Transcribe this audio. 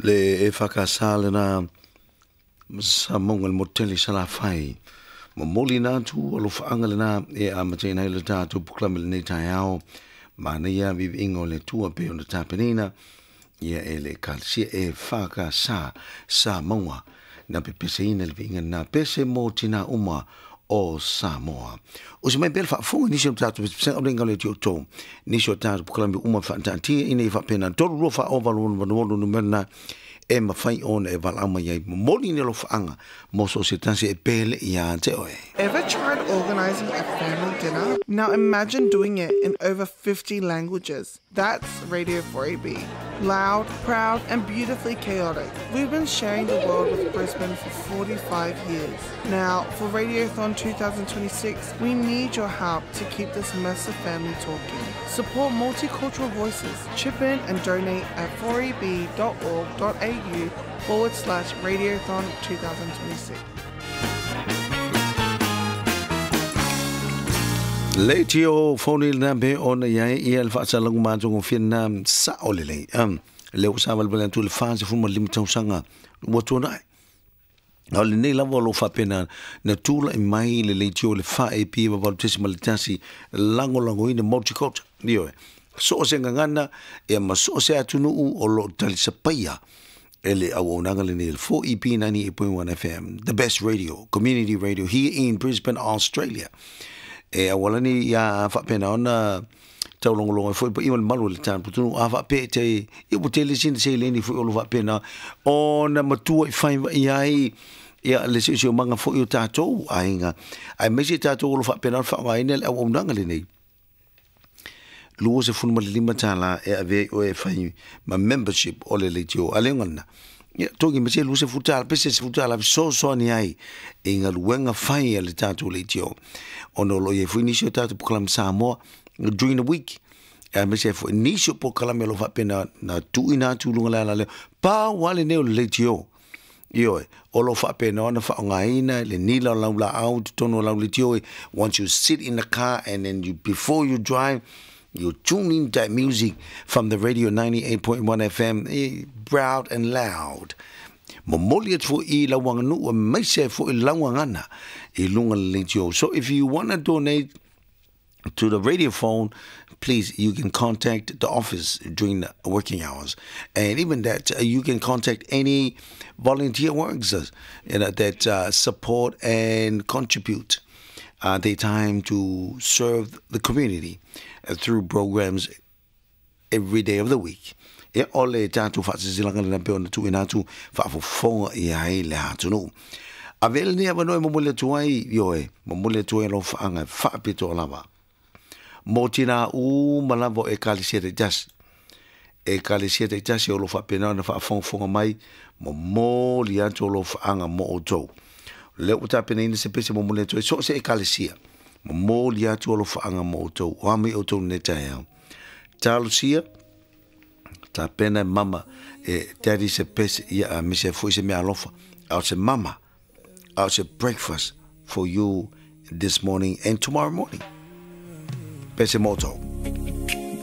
Le EFKS lena Samoa le motele Salafai. Momoli na atu alofaanga lena e amataina ai le tatou polokalame lenei taeao. Manaia viviiga o le Atua pei ona tapenaina ia e le Ekalesia EFKS Samoa na pepeseina le viiga lena pese mo tinā uma o Samoa. Usi mai pea le faafofoga i nisi o tatou pesepesega o le inga o le Atua outou. Nisi o tatou polokalame uma faataatia ina ia faapena 3 2 4 8 8 8 6 numera na e mafai ona e valaau mai ai. Momoli ni alofaaga mo so o se tasi e pele ia te oe. Ever tried organising a family dinner? Now imagine doing it in over 50 languages. That's Radio 4AB. Loud, proud, and beautifully chaotic. We've been sharing the world with Brisbane for 45 years. Now, for Radiothon 2026, we need your help to keep this massive family talking. Support multicultural voices. Chip in and donate at 4eb.org.au forward slash radiothon 2026. Leitio foni lena pe ona i ai ia le faasalaga matagofie lena sao lelei. Lea ua savalivali atu i le 45 tausaga ua tuanai. A o lenei lava o lo o faapena na tulai mai le leitio i le 4AP 8.1 lagolagoina multicultural. Ioe. So o se gagana ia ma so o se atunuu o lo o talisapaia e le auaunaga lenei le 4EP 98.1 FM, the best radio, community radio here in Brisbane, Australia. E aualani ia faapena ona taulogologo ai foi paia ma le malu o le taputunuu a faapea e te ia ua tele sina seleni foi o lo faapena ona matua i fai i ai ia le siosiomaga foi o tatou aiga aemaise tatou o lo faapena ona faaaogaina le auaunaga lenei. $25 e ave ai oe e fai ma membership o le leitio a le lena. Ia, togi ma se $20 pe se $10 fesoasoani ai i galuega fai a le tatou leitio. Ona o lo o i ai foi nisi o tatou polokalame Samoa during the week. Aemaise ai foi nisi o polokalame o lo o faapena na tuuina atu i luga o le alaleo. Pau lava lenei o le leitio. Ioe, o lo o faapena ona faaaogaina le nila o lau laau i totonu o lau leitio. Once you sit in the car and then you, before you drive, you tune in that music from the radio 98.1 FM, proud and loud. Momoli atu foi i lau aganuu aemaise ai foi lau gagana i luga o le leitio. So if you wanna donate to the radio phone, please, you can contact the office during the working hours. And even that, you can contact any volunteer workers, that support and contribute their time to serve the community through programs every day of the week. Ia, o le tatou faasilasilaga lena pei ona tuuina atu faafofoga i ai le atunuu. Ave lenei avanoa e momoli atu ai, ioe, momoli atu ai alofaaga e faapitoa lava mō tinā uma lava o Ekalesia taitasi. Ekalesia taitasi o lo o faapena ona faafogafoga mai, momoli atu alofaaga mo outou. Lea ua tapenaina se pese momoli atu ai so o se Ekalesia, momoli atu alofaaga mo outou. O a mai outou nei taeao. Talosia, tapena e mama e daddy se pese ia a mise foi se mea alofa. A o se mama, a o se breakfast for you this morning and tomorrow morning. Pese mo outou.